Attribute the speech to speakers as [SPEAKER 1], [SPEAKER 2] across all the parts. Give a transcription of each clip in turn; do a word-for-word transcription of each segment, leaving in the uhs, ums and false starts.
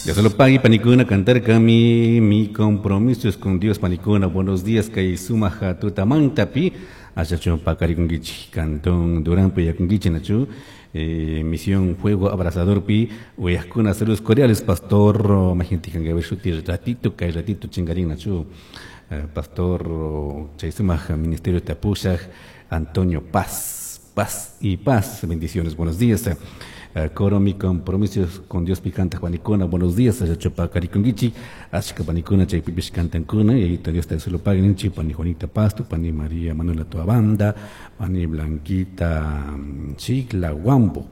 [SPEAKER 1] Dios lo pague, panicuna, cantar mi, mi compromiso es con Dios, panicuna. Buenos días, kay sumaja tutamantapi. Achachu pacarikunkichi, cantón Durán puyakunkichi, nachu. Eh, misión Fuego Abrasador pi, uyajkuna, saludos cordiales, pastor, majintikan shuti ratito, kay ratito chingarín, nachu. Eh, pastor, chay sumaja, Ministerio Tapushaj, Antonio Paz, paz y paz, bendiciones, buenos días. Eh, coro mi compromiso con Dios picanta panicuna, buenos días, achachupa carikungichi, ashka panicuna, chaypipish cantankuna, y ahí Dios te lo paguen, pani Juanita Pasto, pani María Manuela Tuabanda, pani Blanquita Chigla Guambo.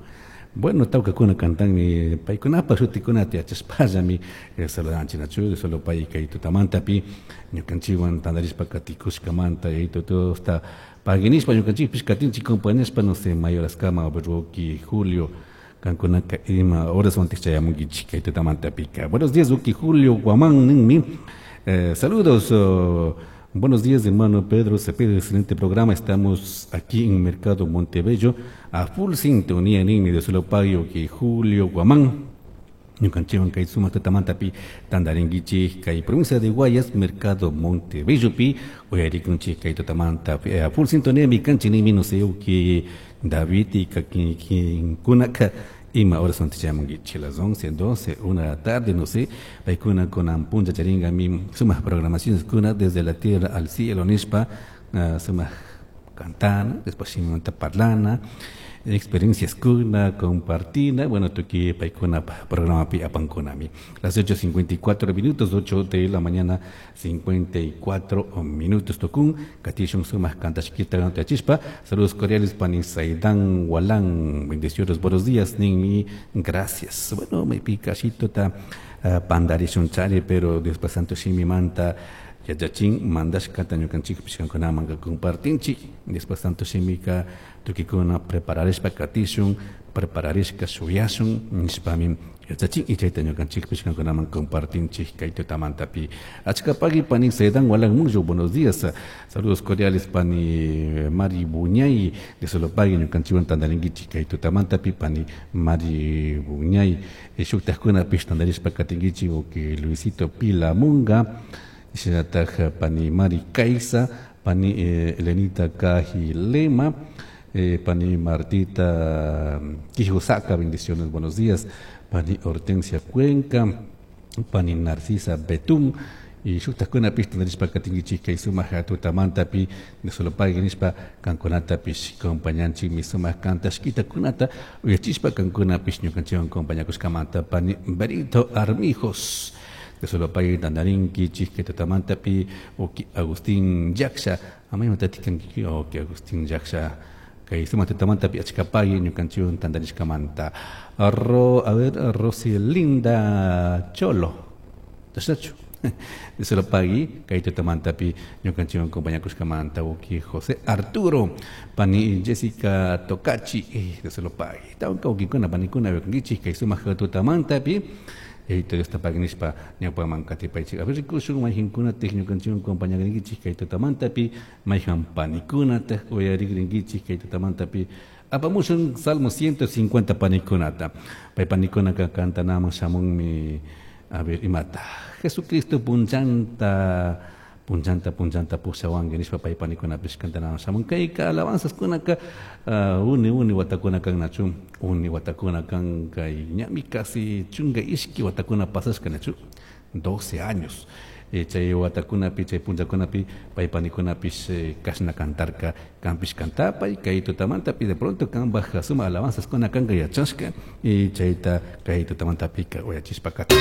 [SPEAKER 1] Bueno, tawkakuna cantanmi paykunapa shutikunata yachashpallami saludanchik nachu solo pay kay tutamantapi ñukanchikwan tantarishpa katikushkamanta y todo paguinishpa ñukanchikpish katinchik compañashpa no sé mayoraskama Rocky Julio kankunaka ima horas wantik chayamunkichik kay tutamantapika. Buenos días, Uki Julio Guamán ninmi. Eh, saludos, oh, buenos días, hermano Pedro Cepeda, excelente programa. Estamos aquí en Mercado Montebello, a full sintonía ninmi de solo payo que Julio Guamán. Ñukanchikwan kay sumaq tutamantapi tantarinkichik kay provincia de Guayas, Mercado Montebello pi uyarikunchik kay tutamanta a full sintonía mi kanchik ninmi no sé uki David y kunaka ima horas son chayamunkichik las once, doce, una de la tarde, no sé, paykuna kunan puncha charinga mi sumaq programaciones kuna desde la tierra al cielo nishpa uh, sumaq cantana, después shimanta parlana, experiencias kuna, compartina, bueno, tuki paykuna programa pi apankunami. Las ocho cincuenta y cuatro minutos, ocho de la mañana, cincuenta y cuatro minutos, tokun, katishun sumaq kantashkita chispa, saludos cordiales, pani Saidán Walán, bendiciones, buenos días, ninmi, gracias. Bueno, me pica ta uh, pandarishun chari, pero después santo shimi manta, yachachin mandashkata ñukanchikpish kankunaman compartinchik, después tanto shimika tukikuna prepararishpa katishun, prepararishka shuyashun nishpami yachachin y chayta ñukanchikpish kankunaman compartinchik kay tutamantapi. Achka pagui pani Sedan Walan Muyo, buenos días, saludos cordiales pani Mari Buñay de Solopagui ñukanchikwan tantarinkichik kay tutamantapi pani Mari Buñay shuktajkunapish tantarishpa katinkichik uki Luisito Pilamunga, shinataj pani Mari Caiza, pani eh, Elenita Cajilema, eh, pani Martita Quijosaka, bendiciones, buenos días, pani Hortensia Cuenca, pani Narcisa Betún, y shuktajkunapish tantarishpa katinkichik kay sumaq tutamantapi de Solopagui nishpa kankunatapish compañanchik mi sumaq kantashkitakunata uyachishpa kankunapish ñukanchikwan compañakushkamanta pani Berito Armijos de Solopagui tantarinkichik kay tutamantapi uki Agustín Yaksha, amayman tatikanki uki Agustín Yaksha kay sumaq tutamantapi achkapagui ñukanchikwan tantarishkamanta. Ro, a ver, Roselinda Cholo, ¿tachachu? De Solopagui, kay tutamantapi ñukanchikwan compañakushkamanta uki José Arturo, pani Jessica Tocachi, eh, de Solopagui. Tawka ukikuna panikuna wekankichik kay sumaq tutamantapi. Eito Dios tapagnishpa ñawpaman katipaychik. A ver, rikushun mayqinkunataq ñukanchikwan compañarinkichik kay tutamantapi, mayqan panikunataq uyarikrinkichik kay tutamantapi. Apamushun Salmo ciento cincuenta panikunata. Pay panikunaka kantanaman shamunmi, a ver, imata. Jesucristo punchanta, punchanta, punchanta pushawanki nishpa pay panikunapish kantanaman shamun. Kayka alabanzas kunaka, uh, uni, uni watakuna kan nachu, uni watakuna kan kay ñami casi chunga ishki watakuna pasashka nachu, doce años. Eh, chay watakunapi, chay punchakunapi, pay panikunapish, eh, kashna kantarka, kampish kantapay, kay tutamantapi de pronto kan baja suma alabanzas kuna kanka yachashka, y chayta kay tutamantapika uyachishpa kata.